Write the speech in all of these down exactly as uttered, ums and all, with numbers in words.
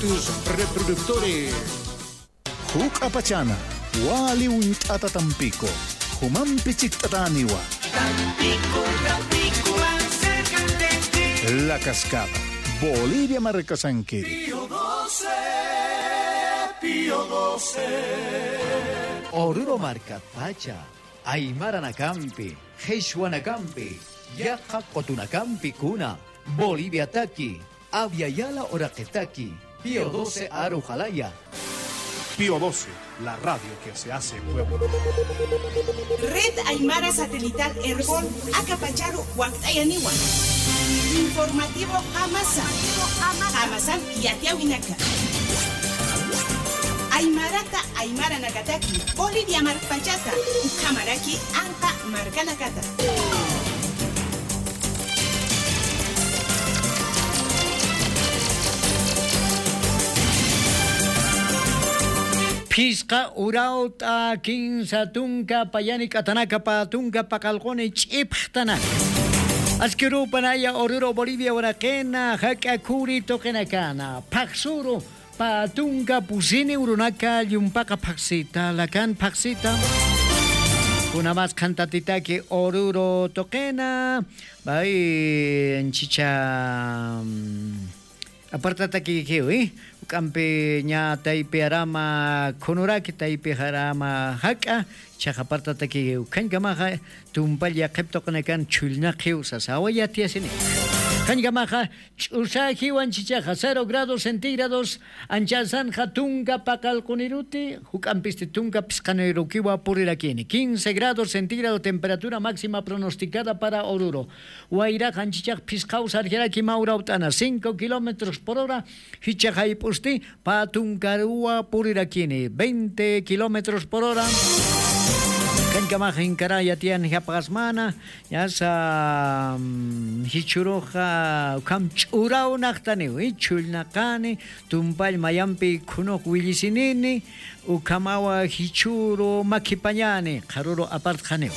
Tus reproductores. Juk'apachana, wali uñt'ata Tampico, jumampi chikt'atäniwa. Tampico, Tampico, más cerca de ti. La Cascada, Bolivia markasankiri. Pío doce, Pío doce. Oruro markatpacha, aymaranakampi, qhichwanakampi, yaqha qutunakampi kuna, Boliviataki, Abya Yala uraqitaki, Pío doce aru jalaya. Pío doce, la radio que se hace pueblo. Red Aymara Satelital Erbol, aka pacharu wakt'ayaniwa. Informativo Qamasa. Qamasan yatiyawinaka. Aymarata, aymaranakataki, Bolivia markpachata, ukhamaraki anqa markanakata. Phisqa urawt'a kinsa tunka payani k'atanaka pä tunka paqallquni ch'ipxtanaka. Aski urupanaya Oruro Bolivia uraqina, jak'a khuri tuqinakana, phaxsuru, pä tunka pusini urunaka llumpaqa phaxsita, lakan phaxsita. Kunamas qhantatitaki Oruro tuqina, bay, anchicha, mm, apartatakiki, ¿eh? Uk'ampi ña taypi arama khunuraki, taypi arama jak'a, chaqa apartatakiki, ukhañkamaxa tumpall yaqhip tuqinakan chhullnaqiw sasawa yatiyasini. Ukhañkamaxa ch'usajiw anchichaxa, cero grados centígrados, anchasanxa tunka paqallquniruti, juk'ampisti tunka phisqanirukiwa purirakini. Quince grados centígrados temperatura máxima pronosticada para Oruro. Wayrax anchichax phisqaw sarjaraki mä urawt'ana, cinco kilómetros por hora, jichhax jayp'usti, pä tunkaruwa purirakini, veinte kilómetros por hora. Ukhañkamax jinkara yatiyan japxasmana, yasa, mm, jichhüruxa, ukham ch'uraw naxtaniw, y chhullnaqani, tumpall mayampi khunux willisinini, ukhamawa jichhüru makhipañani, qharüru apartxaniw.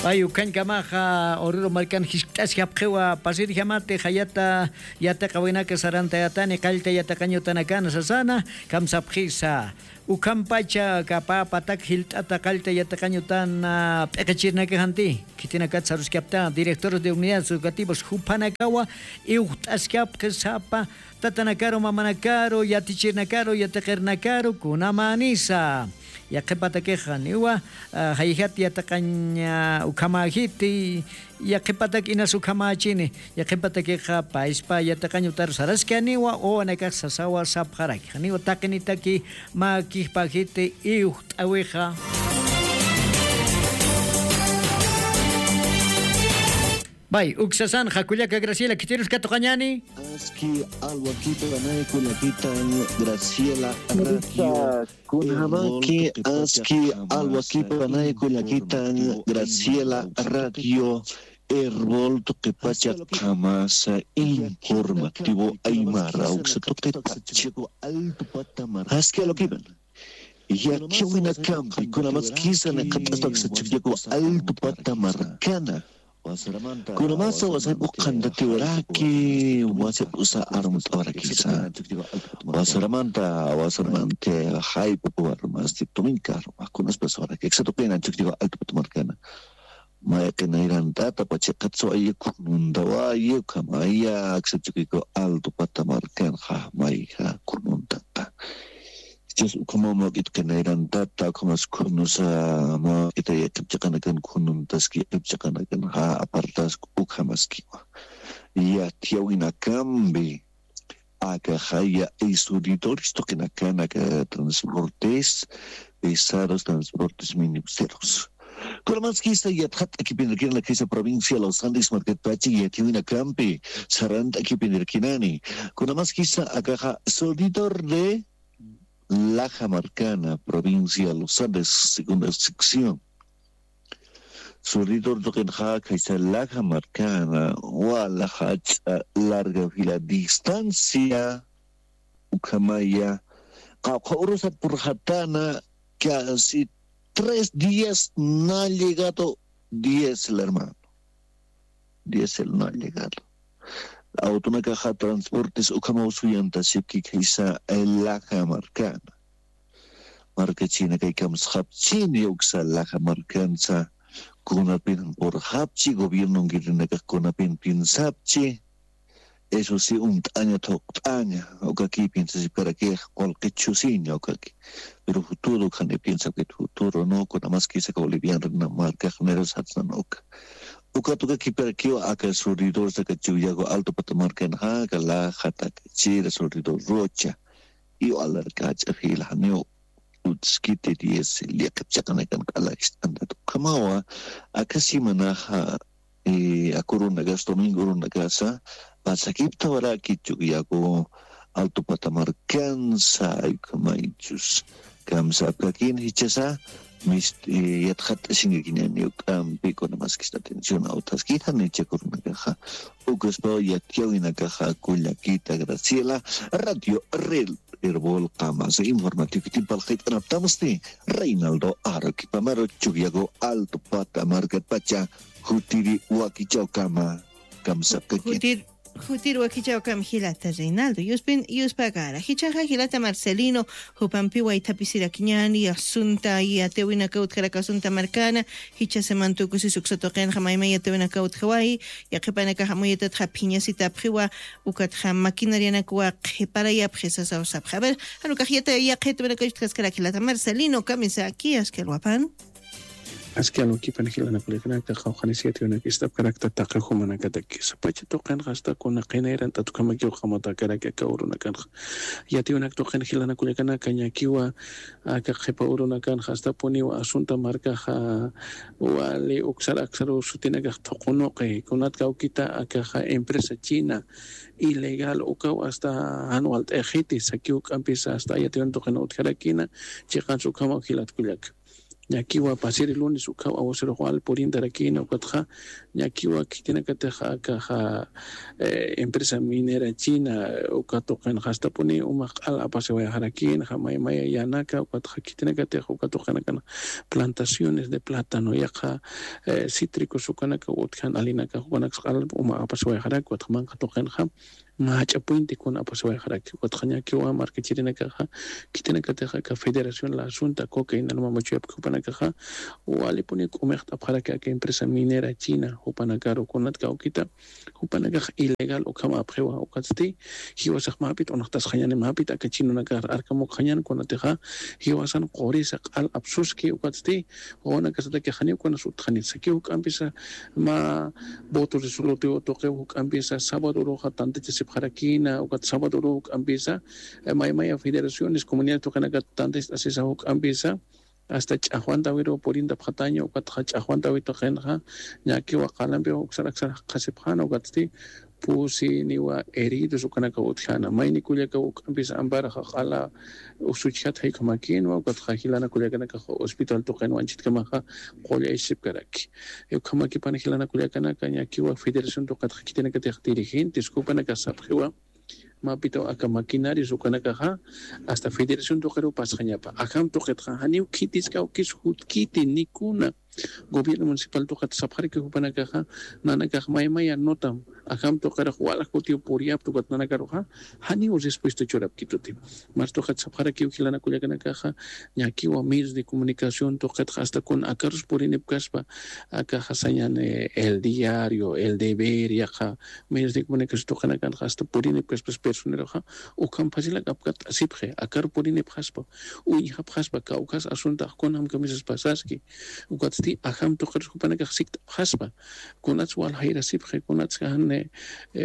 Pay ukhañkamaxa Oruro markan jiskt'askapxiwa, pasirjamati jayata yatiqawinaka sarantayatani, qallta yatiqañ utanakan sasana, kamsapxisa. Ukhampacha aka pä patak jilt'ata qallta yatiqañ utana p'iqichirnakaxanti, khitinakat saruskapta, directores de unidades educativas juphanakawa iwxt'askapxi sapa tatanakaru, mamanakaru, yatichirnakaru, yatiqirnakaru, kunamänisa. Yaqhipatakix janiwa, ah, jayjat yatiqañ, ah, ukhamäjiti, yaqhipatak inas ukhamächini, yaqhipatakixa payspa yatiqañ utar saraskaniwa, wawanakax sasawa sapxaraki. Janiwa taqinitaki mä kijpäjiti iwxt'äwixa. Bay, uksasanxa kullaka Graciela, khitirus katuqañäni. Aski alwakipanay kullakitan Graciela Radio. Kunjamaki aski alwakipanay kullakitan Graciela Radio Erbol tuqipacha qamasa informativo aymara uksa tuqipacha. Aski alwakipan. Yatiyawinakampi kunamaskisa naqhat'astaksa chukllaku altu pata markana. Kunamasa wasan uqhantatiwaraki, wasa usa armt'awarakisa. Wasaramanta, wasaramanta, jayp'u armasti tuminka arma, kunaspas warakiksa tuqina chukllaku altu pata markana. Mayqinayrantata pachiqatsu ayi khununtawayi, ukhamaya aksa chukiku altu pata markan, jaqmayja khununtata. Chus ukhama mawk'it qinayrantata, ukhamas khunusa mawk'ita yaqhip chiqanakan khununtaski, yaqhip chiqanakan ja apartask ukhamaskiwa. Yatiyawinakampi, akajaya, y suridores tuqinakan aka transportes pesados, transportes minibuseros. Kunamaskisa yatxat'akipinirkina, kisa provincia Los Andes markatpachi yatiyawinakampi sarant'akipinirkinani. Kunamaskisa akaja suridor de Laja markana, provincia Los Andes, segunda sección. Suridor tuqinxa khaysa Laja markana, wala jach'a larga fila distancia, ukhamaya, qawqha urusat purxatana, casi tres días no ha llegado diésel, hermano. diésel no ha llegado. Awtunakaxa transportes ukhamaw suyantasipki khaysa laja markana. Markachina kay kamsxapchini uksa laja markansa, kunapin purxapchi, gobiernon kirinakax kunapin piensapchi. Eso sí, unt'aña thuqt'aña ukaki piensasipkarakix, qullqi chusiña ukaki. Pero futuro ukhani piensapkit, futuro no, kunamaskisa ka bolivian markax nirasatsan uka. Ukat ukakipirakiw aka suridor saka Chuyago Alto Patamarkanxa, aka lajataka chira suridor Rocha. Iwalarkach'a fila janiw utskiti diez llaqip chaqanakan q'ala ist'antat ukhamawa. Aka simanaxa, eh, akurunakasa, domingo urunakasa pasakiptawaraki Chuyago Alto Patamarkansa, ukhamaychus kamsapkakin jichhasa, mist-, eh, yatxat'asinkakiñani uk'ampi, kunamaskista atención awthaskita nichakurunakaxa. Ukaspaw yatiyawinakaxa kullakita Graciela, Radio Red Erbol Qamasa informativo kitimpal qhit'anaptamsti Reinaldo Aroquipamaro, Chuyago Alto Pata markatpacha, jutiri wakichawkama kamsapkakin. Jutir, jutir wakichawkam jilata Reinaldo. Yuspin, yuspakara. Jichhaxa jilata Marcelino, jupampi waythapisirakiñani, asunta, yatiyawinaka utjaraka asunta markana, jichha semantukusis uksa tuqinxa maymay yatiyawinaka utjawayi, yaqhipanakaxa amuyatatxa phiñasitapxiwa, ukatxa maquinarianakwa qhiparayapxi sasaw sapxi. A ver, jan ukax yata, yaqhitawinaka utjaskarak jilata Marcelino, kamisaki, askalwapan. Askalwakipan jilanakullakanaka, qawqhanis yatiyawinaka ist'apkarakta taqi jumanakatakisa. Pacha tuqinxa asta kuna qina irant'at ukhamakiw qamatakaraki aka urunakanxa. Yatiyawinaka tuqin jilanakullakanaka ñakiwa aka qhipa urunakanxa astapuniwa asunta markaxa wali uksar aksaruw sutinakax thuqunuqi, kunat kawkita akaxa empresa china ilegal ukaw asta jan walt'ayxiti, sakiw juk'ampisa asta yatiyawin tuqin utjarakina, chiqans ukhamaw jilat kullaka. Ñakiwa pasiri lunes ukhaw aguacerox wal purintarakina, ukatxa ñakiwa khitinakatix akaxa, eh, empresa minera china, uka tuqinxa astapuni umax q'al apasiwayxarakinxa, maymaya yanaka, ukatxa khitinakatix uka tuqinakan plantaciones de plátano, yaqha, eh, cítricos ukanaka utjan alinakax ukanaksa q'al uma apasiwayxaraki, ukatxa manqa tuqinxa mach'a puente kuna apasiwayxaraki, ukatxa ñakiwa markachirinakaxa, khitinakatix aka federación la asunta coca inalma machuyapki jupanakaxa, walipuni k'umixt'apxaraki aka empresa minera china, jupanakaru kunat kawkita, jupanakax ilegal ukhamapxiwa, ukatsti, jiwasax mapit unaxtasxañani, mapit aka chinunakax arkamukxañan, kunatixa, jiwasan qurisa q'al apsuski, ukatsti, wawanakasataki janiw kunas utjanit, sakiw juk'ampisa, mä voto resolutivo tuqiw juk'ampisa, sábado uruxa tantachasipxarakina, ukat sábado uruxa juk'ampisa, eh, maymaya federaciones, comunidades tuqinakat tantachasisa juk'ampisa, asta ch'axwantawiruw purintapxataña, ukatxa ch'axwantawi tuqinxa, ñakiwa qalampiw uksar aksar qhasipxana, ukatsti, pusi niwa heridos ukanaka utjana. Mayni kullaka juk'ampis amparaxa q'ala usuchjat jaykamakïnwa, ukatxa jilana kullakanakaxa hospital tuqinwa anchhitkamaxa qullaysipkaraki. Ukhamakipana jilana kullakanaka ñakiwa federación tuqitxa khitinakatix dirigentes jupanakax sapxiwa, mapitaw aka maquinarias ukanakaxa hasta federación tuqiruw pasxañapa. Ajam tuqitxa janiw khitiskawkis kis jutkiti nikuna. Gobierno municipal tuqit sapxaraki jupanakaxa, nanakax maymaya notam, ajam tuqirux wal jutiw puriyapta ukat nanakaruxa, janiw respuesta churapkituti. Mas tuqit sapxarakiw jilana kullakanakaxa, ñakiwa medios de comunicación tuqitxa hasta kun akarus purinipkaspa, akaxa sañani El Diario, El Deber, yaqha medios de comunicación tuqinakanxa hasta purinipkaspas personeroxa, ukham facilak apkatt'asipxi, akar purinipxaspa, uñjapxaspa, kawkhas asuntax kunjam kamisas pasaski, ukatsti ajam tuqirus jupanakax sikt'apxaspa, kunats wal jayrasipxi, kunats jan, eh,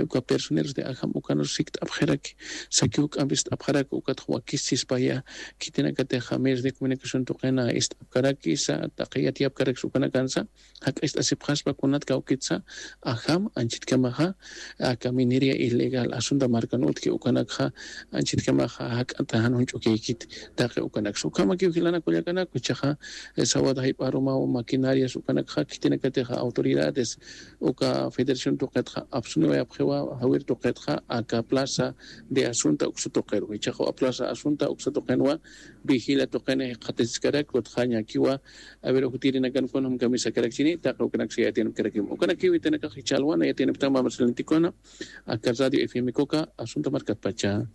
uka personeros de ajam ukanus sikt'apxiraki, sakiw juk'ampi ist'apxaraki, ukatxa wakisispaya, khitinakatixa medios de comunicación tuqina ist'apkarakisa, taqi yatiyapkarakis ukanakansa, jak'ist'asipxaspa kunat kawkitsa, ajam anchhitkamaxa, aka minería ilegal, asunta markan utji ukanakxa, anchhitkamaxa, jak'ata jan juñch'ukiykit, taqi ukanaksa. Ukhamakiw jilana kullakanaka, jichhaxa, eh, sábado jayp'arumaw maquinarias ukanakxa, khitinakatixa autoridades, uka federación tuqitxa, Suniwayapxiwa jawir tuqitxa aka plaza de asunta uksa tuqiru, ichaqa plaza asunta uksa tuqinwa vigila tuqini jikxatasiskarak utjañakiwa. Aver ujutirinakan kunam kamisakarakchini taqa ukanaksa yatinapkarakim ukanakiwi tanakax ichalwana yatinaptama marcelintikuna. Aka radio fmkuka asunta markatpacha.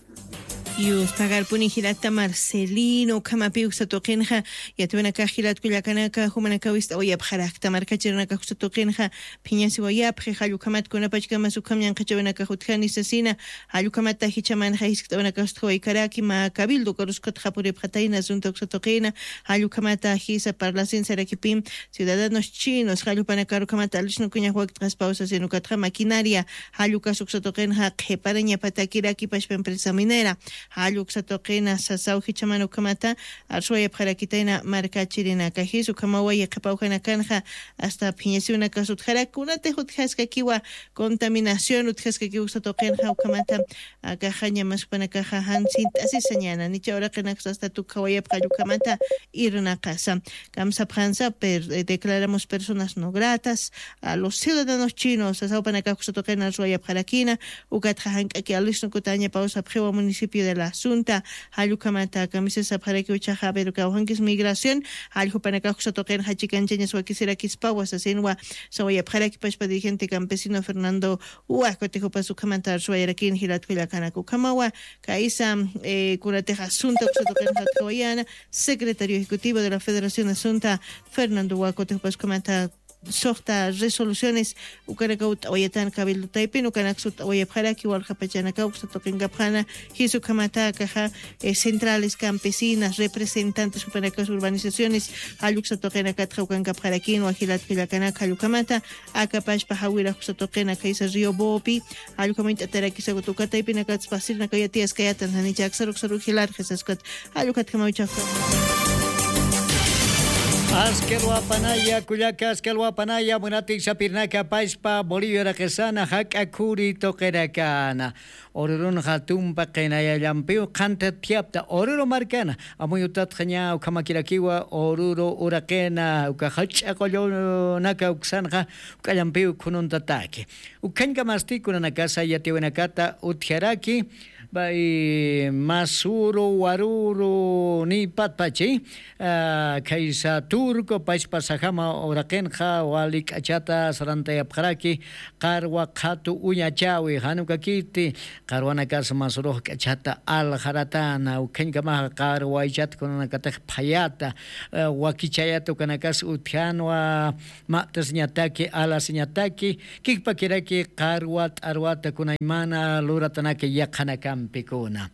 Yustagarpuni jilata marcelino ukhamapi uksa tuqinxa yatiwanakax jilatkullakanaka jumanakawist'awayapxarakta markachirinakax uksa tuqinxa phiñasiwayapxi jallukhamat kunapachkamas ukham ñanqhachawinakax utjani sasina. Jallukhamata jichamanxa jiskt'awanakax utjawaykaraki mä cabildo karuskutxa puripxatayna asunta uksa tuqina. Jallukhamata jisa parlasin sarakipim ciudadanos chinos jallupanakarukhamata alisnukuñax waktqaspaw sasin ukatxa maquinaria. Jallukas uksa tuqinxa qhiparañapatakiraki pashpa empresa minera. Jalluksa tuqina sasaw jichaman ukhamata arsuwayapxarakitayna markachirinaka jis ukhamawa yiqhipawjanakanxa asta phiñasiwnakas utjarak kunatix utjaskakiwa contaminación utjaskakiwa uksa tuqinxa ukhamata. Akaxaña maspanakaxa jansint'asisañana nicha uraqinaksa asta tukhawayapxalla ukhamata. Irnaqasa kamsapxansa per- declaramos personas no gratas a los ciudadanos chinos sasawpanakax uksa tuqina arsuwayapxarakina. Ukatxa jank'aki alisnukutaña pawsapxiwa municipio de la asunta. Jallukhamata kamisisapxaraki uchaxa pero kawjankis migración. Jalljupanakax uksa tuqinxa chikanchañas wakisirakispawa sasinwa sawayapxaraki pashpa dirigente campesino fernando. Uwaj kutijupas ukhamanta arsuwayarakin jilatkullakanaka ukhamawa. Kaysa kunatix asunta uksa tuqinxa utkawayana secretario ejecutivo de la federación asunta fernando uwaj kutijupas ukhamanta suxta resoluciones ukanakaw t'awayatan cabildo taypin ukanaksa t'awayapxaraki walja pachanakaw uksa tuqinkapxana. Jisa ukhamata akaxa centrales campesinas representantes jupanakas urbanizaciones jalluksa tuqinakatxa ukankapxarakin wajilat kullakanaka jallukhamata. Akapashpa jawira uksa tuqina khaysa río bopi. Jallukhamant'atarakisakut ukataypinakatsa pasirnakayatiyaskayatan janicha aksaruksaru jilarxisaskat. Jallukhatkhamawichakta. Askalwapanaya kullaka askalwapanaya munatiksapirnaka pashpa bolivia raqisana jak'a khuri tuqirakana. Ururunxa tumpa qinayallampiw qhanthat thiyapta ururu markana. Amuyutatxaña ukhamakirakiwa ururu uraqina uka jach'a qullunaka uksanxa. Uk'allampiw khununtataki ukhañkamasti kunanakasa yatiwinakata utjaraki. Bay masuru waruru nipatpachi. Khaysa turco pachpa sajama uraqinxa wali k'achata sarantayapxaraki. Qarwa qhatu uñachawi janukakiti qarwanakas masurux k'achata aljaratana ukhañkamaxa qarwaychat kunanakatix phayata wakichayata ukanakas utjanwa. Ma'tasiñataki alasiñataki kikpakiraki qarwa t'arwata kunaymana luratanaka yaqhanakampikuna.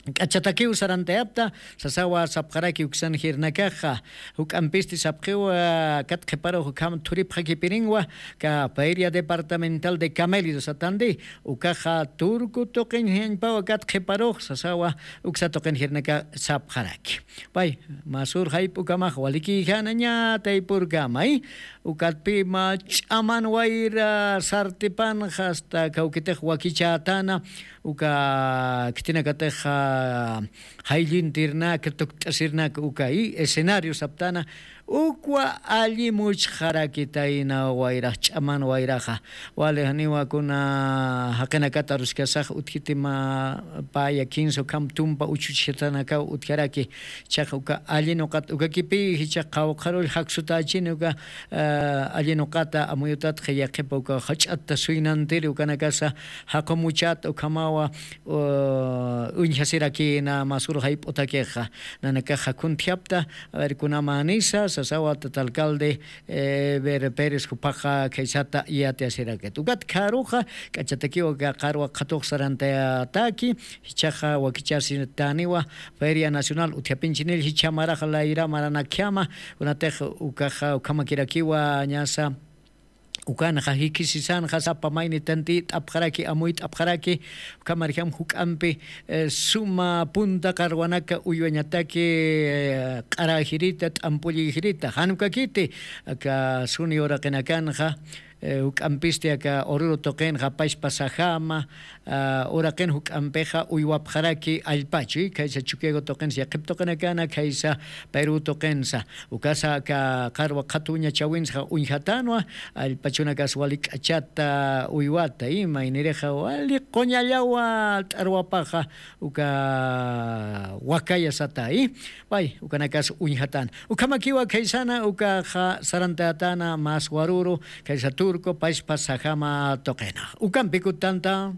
K'achatakiw sarantayapta sasawa sapxaraki uksan jirnakaxa. Juk'ampisti sapxiwa kat qhiparux ukham thuripxakipirinwa ka feria departamental de camello satandi ukaxa turku tuqiñjañpawa kat qhiparux sasawa uksa tuqin jirnaka sapxaraki. Pay masur jayp'ukamax walikiyjanaña taypurkamay. Ukatpima ch'aman wayra sartipanxa asta kawkitix wakichätana uka khitinakatix jayllintirnaka tukt'asirnaka uka escenario saptana. Ukwa alli muchxarakitayna wayrax ch'aman wayraxa. Wali janiwa kuna jaqinakata aruskasax utjitima paya kinsa ukham tumpa uchuchjatanakaw utjaraki. Chaqa uka alli nuqata ukakipi jichha qhawqharull jaksutächini uka alli nuqata amuyutatxa yaqhipa uka jach'atta suynantiri ukanakasa jaqumuchata ukhamawa uñjasirakina masur jayp'utakixa. Nanakaxa khuntjapta aver kunamänisa sasawa tata alcalde. Ver pérez juphaxa khaysata yatiyasirakit ukat kharuxa k'achatakiwa ka qarwa qhatux sarantayataki. Jichhaxa wakichasitaniwa feria nacional utjapinchinil jichha marax layra maranakjama. Kunatix ukaxa ukhamakirakiwa ñasa ukanxa jikisisanxa sapa mayni tantit'apxaraki amuyt'apxaraki. Ukhamarjam juk'ampi suma punta qarwanaka uywañataki q'aräjirita t'ampullïjirita janukakiti aka suni uraqinakanxa. Juk'ampisti aka ururu tuqinxa pachpa sajama uraqin juk'ampixa uywapxaraki allpachu khaysa chukiago tuqinsa yaqhip tuqinakana khaysa peru tuqinsa. Ukasa aka qarwa qhatuñachawinsxa uñjatanwa allpachunakas wali k'achata uywata ima inirixa wali quñallawa t'arwapaxa uka wakaya sata i. Pay ukanakas uñjatana ukhamakiwa khaysana ukaxa sarantatana mas waruru khaysa turco pachpa sajama tuqina. Ukampikutanta